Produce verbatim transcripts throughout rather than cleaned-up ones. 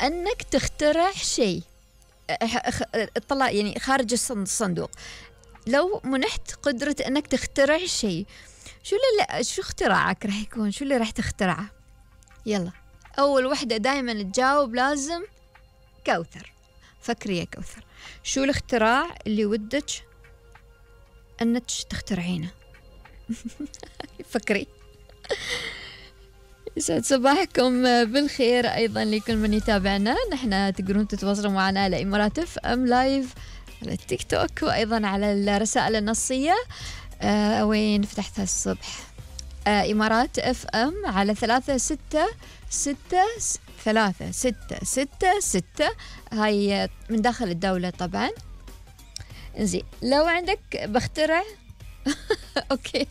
أنك تخترع شيء طلع يعني خارج الصندوق. لو منحت قدرة أنك تخترع شيء، شو اللي شو اختراعك راح يكون؟ شو اللي راح تخترعه؟ يلا أول وحدة دائما تجاوب لازم كوثر. فكري يا كوثر، شو الاختراع اللي ودك أنك تخترعينه؟ فكري. يسعد صباحكم بالخير أيضا لكل من يتابعنا. نحن تقدرون تتواصلوا معنا على إمارات اف ام لايف على التيك توك، وأيضا على الرسائل النصية. آه وين فتحتها الصبح؟ آه إمارات اف ام على ثلاثة ستة ستة ثلاثة ستة ستة ستة، هاي من داخل الدولة طبعا. زين، لو عندك بخترع أوكي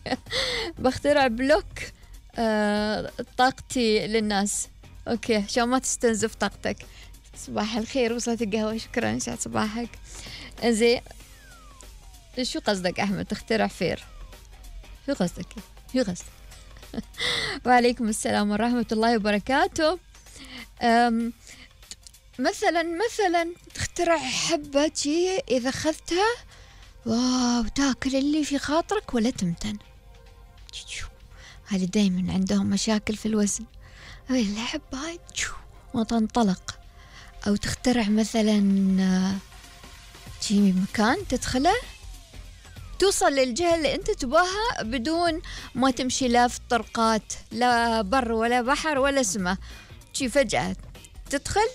بخترع بلوك آه طاقتي للناس، أوكي عشان ما تستنزف طاقتك. صباح الخير، وصلت القهوة، شكرا، يسعد صباحك. زين، شو قصدك أحمد تخترع فير؟ شو قصدك؟ شو قصدك؟ وعليكم السلام ورحمة الله وبركاته. أم مثلا مثلا تخترع حبة شي إذا أخذتها واو تاكل اللي في خاطرك ولا تمتن. هذه دايما عندهم مشاكل في الوزن، الحبة هاي وتنطلق. أو تخترع مثلا شي مكان تدخله توصل للجهة اللي أنت تباها بدون ما تمشي لا في طرقات، لا بر ولا بحر ولا سماء، شي فجأة تدخل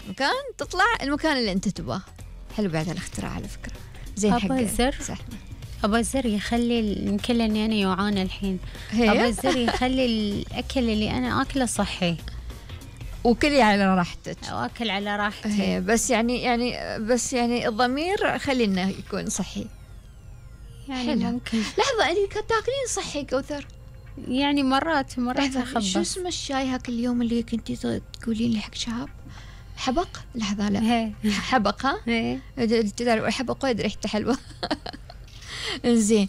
مكان تطلع المكان اللي أنت تباه. حلو بعد الاختراع على فكرة. زين حق أبا الزر أبا الزر يخلي يمكن أني أنا يوعانة الحين. أبا الزر يخلي الأكل اللي أنا أكله صحي وكلي على راحتك، وأكل على راحتي. هي بس يعني يعني بس يعني الضمير خلينا يكون صحي يعني حلو. ممكن لحظة، أنت تاكلين صحي كوثر؟ يعني مرات مرات أخبص. شو أخبص. اسم الشاي هاك اليوم اللي كنتي تقولين لي حق شهاب؟ حبق؟ لحظة لا حبق. ها تعرف حبق وايد ريحته حلوة. زين،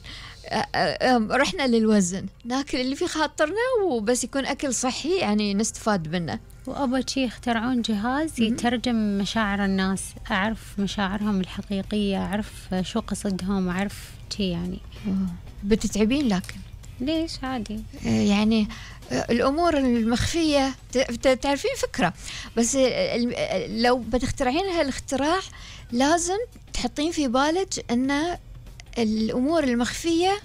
رحنا للوزن، ناكل اللي في خاطرنا وبس يكون أكل صحي يعني نستفاد منه. وأبا شي يخترعون جهاز يترجم مشاعر الناس، أعرف مشاعرهم الحقيقية، أعرف شو قصدهم، أعرف شي يعني. بتتعبين لكن ليش عادي يعني الأمور المخفية تعرفين فكرة، بس لو بتخترعين هالاختراع لازم تحطين في بالك أن الأمور المخفية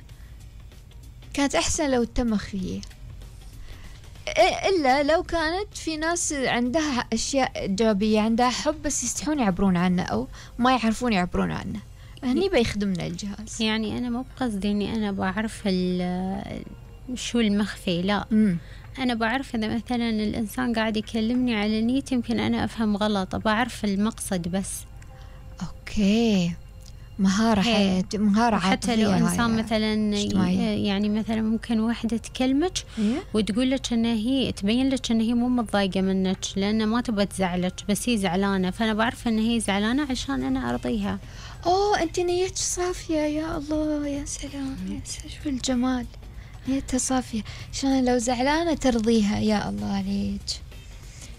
كانت أحسن لو تم مخفية، إلا لو كانت في ناس عندها أشياء إيجابية، عندها حب بس يستحون يعبرون عنه أو ما يعرفون يعبرون عنه، هني بيخدمنا الجهاز. يعني أنا مو بقصدي إني أنا بعرف شو المخفي، لا م. أنا بعرف إذا مثلا الإنسان قاعد يكلمني على نية يمكن أنا أفهم غلط، بعرف المقصد بس. أوكي، مهارة حياة، مهارة حتى لو إنسان مثلا يعني مثلا ممكن واحدة تكلمك وتقول لك إن هي تبين لك إن هي مو متضايقة منك لأن ما تبغى تزعلك، بس هي زعلانة، فأنا بعرف إن هي زعلانة عشان أنا أرضيها. أوه أنت نيتك صافية، يا الله يا سلام يا سلام، شو الجمال، نيتها صافية عشان لو زعلانة ترضيها. يا الله عليك،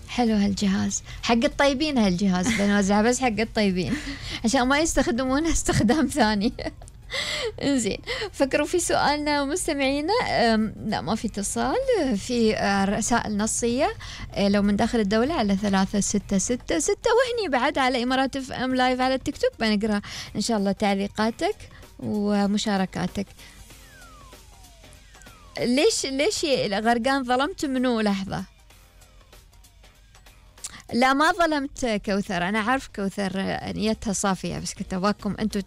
حلو هالجهاز، حق الطيبين هالجهاز بنوزعه بس حق الطيبين عشان ما يستخدمونه استخدام ثاني. انزين، فكروا في سؤالنا مستمعينا. لا ما في اتصال، في رسائل نصية لو من داخل الدولة على ثلاثة ستة ستة ستة، وهني بعد على إمارات اف ام لايف على التيك توك بنقرأ إن شاء الله تعليقاتك ومشاركاتك. ليش ليش غرقان ظلمت منو؟ لحظة، لا ما ظلمت كوثر، أنا عارف كوثر نيتها صافية، بس كنت أباكم أنتوا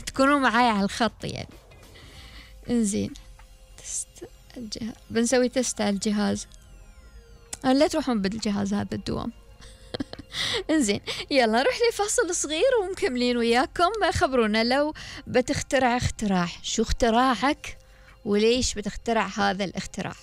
تكونوا معايا على الخط يعني. إنزين، تست الجهاز، بنسوي تست على الجهاز، لا تروحون بالجهاز هذا الدوام. إنزين، يلا نروح لفاصل صغير ومكملين وياكم. خبرونا لو بتخترع اختراع، شو اختراعك وليش بتخترع هذا الاختراع؟